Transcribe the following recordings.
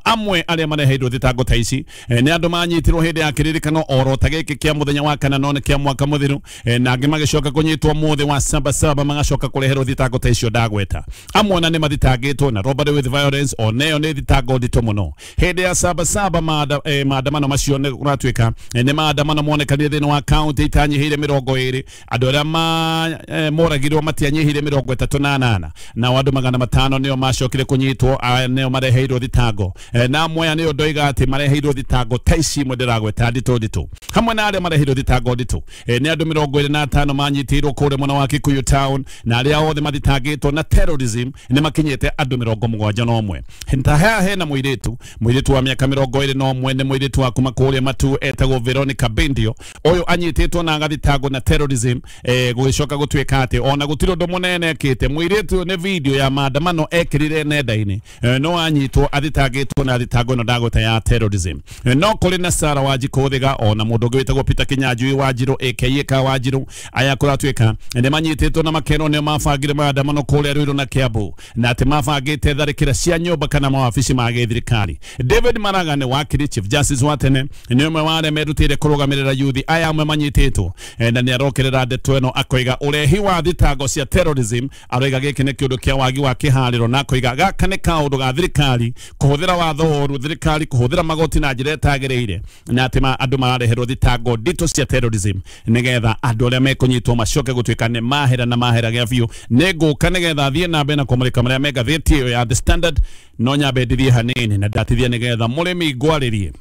Amwe arĩa mareheirwo thitango ta ici nĩ andũ manyitirwo hĩndĩ ya kĩririkano oro ta gĩkĩ kĩa mũthenya wa kana none kĩa mwaka mũthiru, na angĩ magĩcoka kũnyitwo mũthĩ wa saba saba magacoka kũreherwo thitango ta icio ndagweta. Amwe ona nĩ mathitangĩtwo na robbery with violence, oneyo nĩ thitango nditũ mũno. Hĩndĩ ya saba saba maandamano macio nĩ kũratuĩka nĩ maandamano monekanire thĩinĩ wa kaunti itanyihĩire 20. Andũ arĩa moragirwo matianyihĩire 38, nao andũ 500 nĩo macokire kũnyitwo, nĩo mareheirwo thitango. Na amwe nĩo ndoiga atĩ mareheirwo thitango ta ici imwe ndĩragweta nditũ nditũ. Hamwe na arĩa mareheirwo thitango nditũ nĩ andũ 25 manyitĩirwo kũrĩa mwena wa Kikuyu town, na arĩa othe mathitangĩtwo na terrorism nĩ makinyĩte andũ 71. Ta haha hena mũirĩtu wa mĩaka 21, nĩ mũirĩtu wa kuma kũrĩa Matu etagwo Veronica Bendio. Ũyũ anyitĩtwo na agathitangwo na terrorism, gũgĩcoka gũtuĩka atĩ ona gũtirĩ ũndũ mũnene ekĩte. Mũirĩtu nĩ video ya maandamano ekĩrire nenda-inĩ, no anyitwo athitangĩtwo na thitango ĩno ndagweta ya terrorism. No kũrĩ na Sarah Wanjikũ Thiga, ona mũndũ ũngĩ wĩtagwo Peter Kinyanjui Wanjirũ aka Ka Wanjirũ, aya kũratuĩka nĩ manyitĩtwo na makerwo nĩo mabangire maandamano kũrĩa Ruiru na Kiambu, na atĩ mabangĩte tharĩkĩra cia nyũmba kana mawabici ma gĩthirikari. David Maraga nĩ wakiri Chief Justice wa tene, nĩ ũmwe wa arĩa merutĩire kũrũgamĩrĩra yuthi aya amwe manyitĩtwo, na nĩ arokerera ndeto ĩno akoiga ũrehi wa thitango cia terrorism, aroiga gĩkĩ nĩ kĩũndũ kĩa wagi wa kĩharĩro, na akoiga gaka nĩ kaũndũ ga thirikari kũhũthĩra watho ũru, thirikari kũhũthĩra magoti na njĩra ĩtagĩrĩire, na atĩ andũ marareherwo thitango nditũ cia terrorism nĩgetha andũ arĩa mekũnyitwo macoke gũtuĩka nĩ mahera na mahera gĩa biũ. Nĩ ngũka nĩgetha thiĩ na mbere na kũmũrĩka marĩa me ngathĩti ĩyo ya The Standard, no nyambe ndithie hanini na ndatithia nĩgetha mũrĩmi ngwarĩrie.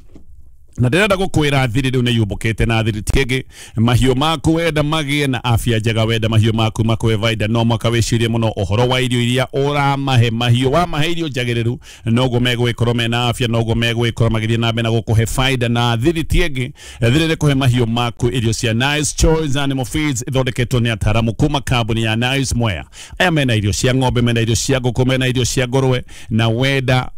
Na ndĩrenda gũkwĩra thiri rĩu nĩ yũmbũkĩte na thiri ti ĩngĩ. Mahiũ maku wenda magĩe na afya njega, wenda mahiũ maku makũhe baida, no mwaka wĩcirie mũno ũhoro wa irio iria ũramahe mahiũ. Wamahe irio njagĩrĩru noguo megũgĩkorwo mena afya, noguo megũgĩkorwo magĩthiĩ na mbere na gũkũhe baida. Na thiri ti ĩngĩ, thiri nĩ kũhe mahiũ maku irio cia Nice Choice Animal Feeds ithondeketwo nĩ ataaramu kuma kambuni ya Nice Mwea. Aya mena irio cia ng'ombe, mena irio cia ngũkũ, mena irio cia ngũrwe, na wenda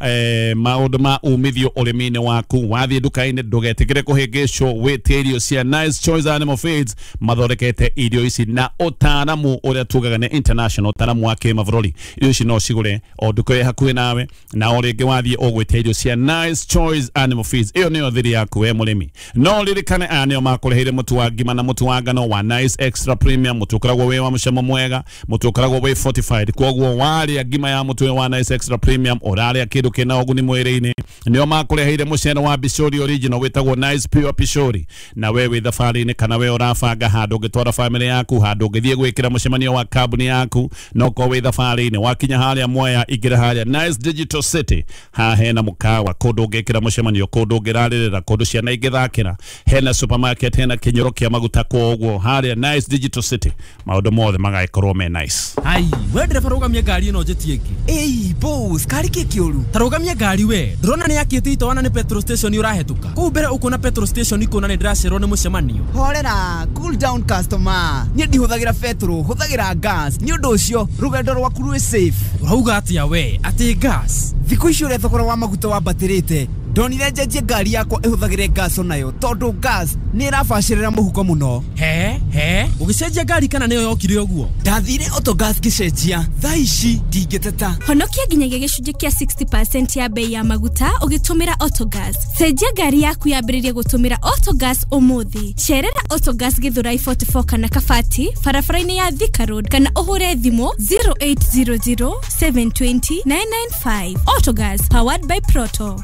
maũndũ ma umithio ũrĩmi-inĩ waku, wathiĩ nduka-inĩ ndũgetikire kũhĩngĩcwo, wĩtie irio cia Nice Choice Animal Feeds. Mathondekete irio ici na ũtaaramu ũrĩa tugaga nĩ international, ũtaaramu wa kĩmabũrũri. Irio ici no cigũre o nduka ĩ hakuhĩ nawe, na o rĩngĩ wathiĩ ũgwĩtia irio cia Nice Choice Animal Feeds. Ĩyo nĩyo thiri yaku we mũrĩmi. No ririkane aya nĩo makũreheire mũtu wa ngima na mũtu wa ngano wa Nice Extra Premium, mũtu ũkoragwo wĩ wa mũcamo mwega, mũtu ũkoragwo wĩ fortified. Kwoguo warĩa ngima ya mũtu wa Nice Extra Premium ũrarĩa kĩndũ kĩna ũguni mwĩrĩ-inĩ. Nĩo makũreheire mũcere wa Bishori original wĩtagwo Nice Pure Pishori. Na we wĩ thabarĩ-inĩ kana we ũrabanga handũ ũngĩtwara family yaku, handũ ũngĩthiĩ gwĩkĩra mũcemanio wa kambuni yaku, no korwo wĩ thabarĩ-inĩ, wakinya harĩa Mwea, ingĩra harĩa Nice Digital City, haha hena mũkawa, kũndũ ũngĩkĩra mũcemanio, kũndũ ũngĩrarĩrĩra, kũndũ ciana ingĩthakĩra, hena supermarket, hena kĩnyũro kĩa maguta. Kwoguo harĩa Nice Digital City maũndũ mothe magagĩkorwo me nice. Ai, we ndereba rũgamia ngari ĩno njĩtie ĩngĩ. Ĩi boss, kari kĩ kĩũru? Ta rũgamia ngari we, ndũrona nĩ yakĩte itoana nĩ petrol station ũrahĩtũka. Kũu mbere ũkuona petrol station ikuona nĩ ndĩracererwo nĩ mũcemanio. Horera, cool down customer. Niĩ ndihũthagĩra petrol, hũthagĩra gas. Nĩ ũndũ ũcio rũgendo rwaku rwĩ safe. Ũrauga atĩa we? Atĩ gas? Thikũ ici ũrĩa thogora wa maguta wambatĩrĩte, ndonire njenjie ngari yakwa ĩhũthagĩre gas onayo, tondũ gas nĩ ĩrabacĩrĩra mũhuko mũno. He he, ũgĩcenjia ngari kana nĩyo yokire ũguo? Ndathire Autogas ngĩcenjia, thaa ici ndingĩteta. Honokia nginyagia gĩcunjĩ kĩa 60% ya bei ya maguta ũgĩtũmĩra Autogas. Cenjia ngari yaku yambĩrĩrie gũtũmĩra Autogas ũmũthĩ. Cerera Autogas Githurai 44 kana Kabati, barabara-inĩ ya Thika Road, kana ũhũre thimũ 0800 720 995. Autogas, powered by Proto.